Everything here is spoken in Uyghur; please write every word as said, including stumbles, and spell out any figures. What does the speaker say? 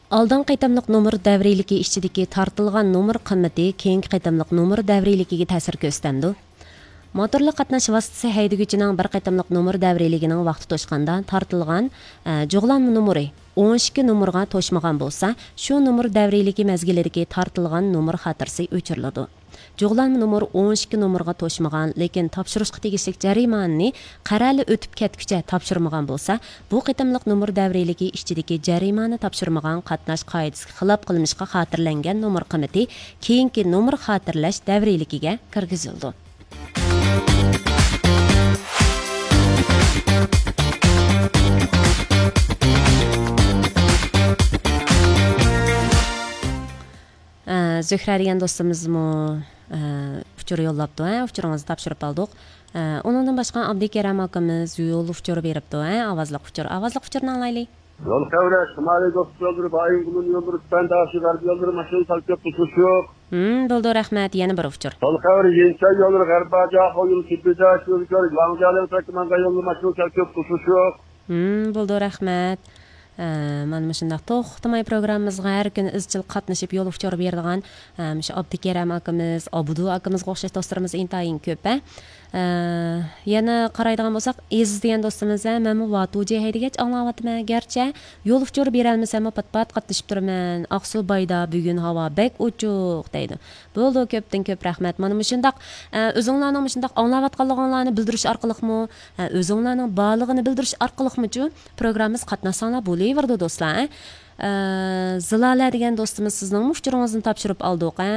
ئالدىنقى قېتىملىق نومۇر دەۋرىيلىكى ئىچىدىكى تارتىلغان نومۇر قىممىتى كېيىنكى قېتىملىق نومۇر دەۋرىيلىكىگە تەسىر كۆرسىتەمدۇ؟ موتورلۇق قاتناش ۋاسىتىسى ھەيدىگۈچىنىڭ بىر قېتىملىق نومۇر دەۋرىيلىكىنىڭ ۋاقتى توشقاندا تارتىلغان، ئە، جۇغلانما نومۇرى ئون ئىككى نومۇرغا توشمىغان بولسا، شۇ نومۇر دەۋرىيلىكى مەزگىلىدىكى تارتىلغان نومۇر خاتىرىسى ئۆچۈرۈلىدۇ. جۇغلانما نومۇر ئون ئىككى نومۇرغا توشمىغان، لېكىن تاپشۇرۇشقا تېگىشلىك جەرىمانىنى قەرەلى ئۆتۈپ كەتكۈچە تاپشۇرمىغان بولسا، بۇ قېتىملىق نومۇر دەۋرىيلىكى ئىچىدىكى جەرىمانە تاپشۇرمىغان قاتناش قائىدىسىگە خىلاپ قىلمىشقا خاتىرىلەنگەن نومۇر قىممىتى كېيىنكى نومۇر خاتىرىلەش دەۋرىيلىكىگە كىرگۈزۈلىدۇ. ئە، زۆھرە دېگەن دوستىمىزمۇ، ئە، ئۇچۇر يوللاپتۇ، ھە؟ ئۇچۇرىڭىزنى تاپشۇرۇپ ئالدۇق. ئە، ئۇنىڭدىن باشقا ئابدۇكېرەم ئاكىمىز يول ئۇچۇرى بېرىپتۇ، ھە؟ ئاۋازلىق ئۇچۇر، ئاۋازلىق ئۇچۇرنى ئاڭلايلى. يول خەۋىرى، شىمالىي دوستلۇق يوللىرى، بايىنغولىن يوللىرى، تۈپەن داشى، غەربىي يوللىرى، ماشىنا سەل كۆپ توسۇش يوق. ھىم، بولدى، رەھمەت. يەنە بىر ئۇچۇر. يول خەۋىرى، يېنچاي يوللىرى، غەربىي جاخۇ يولى، سۈببىدە يولى، ياڭجالىن تەكمەنگە يولى، ماشىنا سەل كۆپ توسۇش يوق. ھىم، بولدى، رەھمەت. ئە، مانا مۇشۇنداق توختىماي پروگراممىمىزغا ھەر كۈنى ئىزچىل قاتنىشىپ يول ئۇچۇرى بېرىدىغان، ئە، مۇشۇ ئابدۇكېرەم ئاكىمىز، ئابدۇ ئاكىمىزغا ئوخشاش دوستلىرىمىز ئىنتايىن كۆپ، ھە. ئە، يەنە قارايدىغان بولساق، ئېزىز دېگەن دوستىمىز، ھە، مەنمۇ ۋاتۇجى ھەيدىگەچ ئاڭلاۋاتىمەن. گەرچە يول ئۇچۇرى بېرەلمىسەممۇ، پات پات قاتنىشىپ تۇرىمەن. ئاقسۇ بايدا بۈگۈن ھاۋا بەك ئوچۇق دەيدۇ. بولدى، كۆپتىن كۆپ رەھمەت. مانا مۇشۇنداق، ئە، ئۆزۈڭلارنىڭ مۇشۇنداق ئاڭلاۋاتقانلىقىڭلارنى بىلدۈرۈش ئارقىلىقمۇ، ئە، ئۆزۈڭلارنىڭ بارلىقىنى بىلدۈرۈش ئارقىلىقمۇچۇ پروگراممىمىزغا قاتناشساڭلار بولۇۋېرىدۇ، دوستلار، ئە. ئە، زىلالە دېگەن دوستىمىز، سىزنىڭمۇ ئۇچۇرىڭىزنى تاپشۇرۇپ ئالدۇق، ئە.